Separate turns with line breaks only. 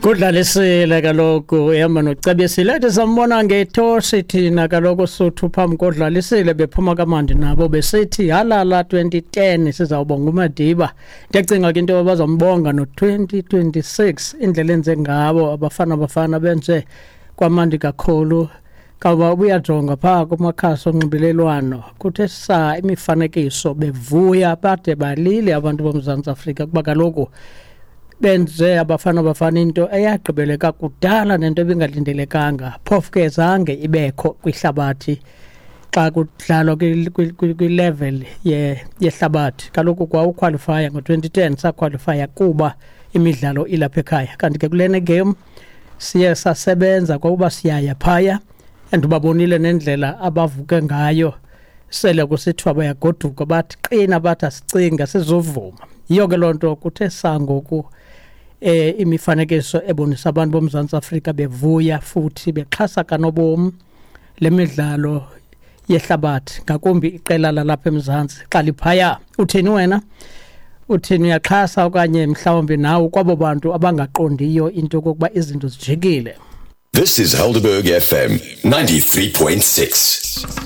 Kudlalisile kaloku ehamba noCebisile, ethi sambona ngetoshi thina kaloku Suthu phambi kodlalisile bephuma kamandi nabo besithi halala 2010 sizawubonga uMadiba. Ndiyacinga ke into bazombonga no-2026 indlela enze ngabo abafana bafana benze kwamandi kakhulu. Kawuba ubuyajonga phaa kumakhasi onxibelelwano kuthe saa imifanekiso bevuya bade balile abantu boMzantsi Afrika kuba kaloku benze abafana bafana into eyagqibeleka kudala nento ebingalindelekanga, phofu ke zange ibekho kwihlabathi xa kudlalwa kwilevel yehlabathi. Kaloku kwawukhwalifaya ngo-2010 sakhwalifaya kuba imidlalo ilapha ekhaya, kanti ke kulena game siye sasebenza kwakuba siyaya phaya, and ubabonile nendlela abavuke ngayo sele kusithiwa bayagoduka, bathi qina, bathi asicinga sizovuma. Yiyo ke loo nto kuthe sangoku imifanekiso ebonisa abantu boMzantsi Afrika bevuya futhi bexhasa kanobom le midlalo yehlabathi, ngakumbi iqela lalapha eMzantsi xa liphaya. Uthini wena? Uthini, uyaxhasa okanye mhlawumbi nawe kwabo bantu abangaqondiyo into yokokuba izinto zijikile?
This is Helderberg FM 93.6.